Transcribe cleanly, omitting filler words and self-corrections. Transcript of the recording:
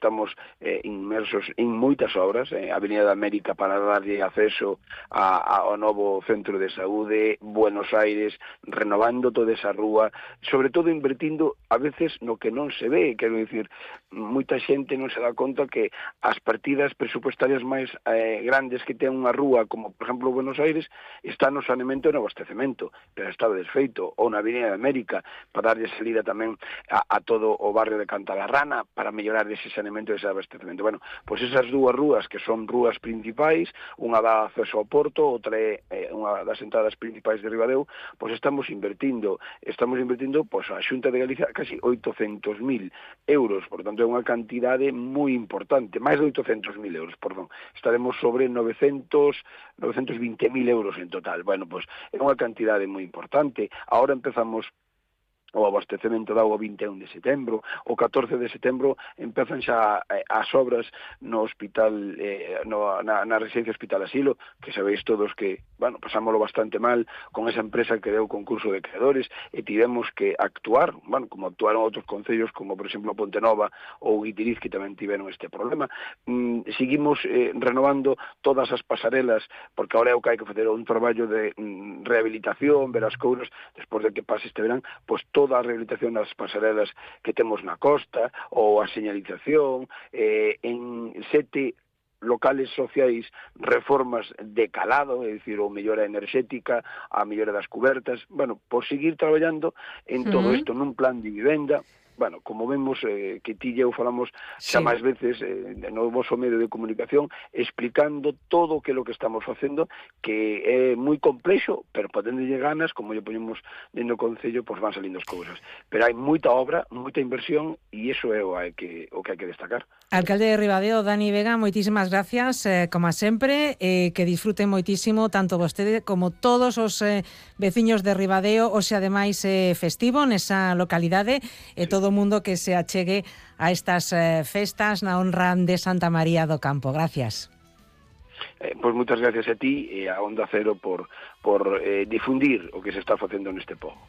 estamos inmersos en moitas obras, a Avenida da América para darlle acceso ao novo centro de saúde, Buenos Aires, renovando toda esa rúa, sobre todo invertindo a veces no que non se ve, quero dicir, moita xente non se dá conta que as partidas presupuestarias máis grandes que ten unha rúa, como por exemplo Buenos Aires, está no saneamento e no abastecemento, pero estaba desfeito, ou na Avenida da América, para darlle salida tamén a todo o barrio de Cantalarrana, para mellorar ese saneamento e ese abastecemento. Bueno, pois esas dúas rúas que son rúas principais, unha dá acceso ao porto, outra é unha das entradas principais de Ribadeo, pois estamos invertindo pois a Xunta de Galicia casi 800.000 euros, por tanto é unha cantidade moi importante, máis de 800.000 euros, perdón, estaremos sobre 920.000 euros en total. Bueno, pois é unha cantidade moi importante. Agora empezamos o abastecemento da auga 21 de setembro, o 14 de setembro empezan xa as obras no hospital, na residencia Hospital Asilo, que sabéis todos que, bueno, pasámoslo bastante mal con esa empresa que deu concurso de creadores e tivemos que actuar, bueno, como actuaron outros concellos, como por exemplo Pontenova ou Guitiriz, que tamén tiveron este problema. Seguimos renovando todas as pasarelas, porque ahora é o que hai que facer un traballo de rehabilitación, ver as couras, despois de que pase este verán, pois toda a rehabilitación das pasarelas que temos na costa, ou a señalización, en 7 locales sociais, reformas de calado, é dicir, ou mellora enerxética, a mellora das cubertas, bueno, por seguir traballando en todo isto nun plan de vivenda. Bueno, como vemos, que ti e eu falamos xa máis veces no vosso medio de comunicación, explicando todo o que é o que estamos facendo, que é moi complexo, pero podéndole ganas, como lle poñemos dentro do Concello, pois van salindo as cousas. Pero hai moita obra, moita inversión, e iso é o que hai que destacar. Alcalde de Ribadeo, Dani Vega, moitísimas gracias, como sempre, que disfruten moitísimo tanto vostede como todos os veciños de Ribadeo, hoxe ademais festivo nesa localidade, e todo o mundo que se achegue a estas festas na honra de Santa María do Campo. Gracias. Pois moitas gracias a ti e a Onda Cero por difundir o que se está facendo neste pobo.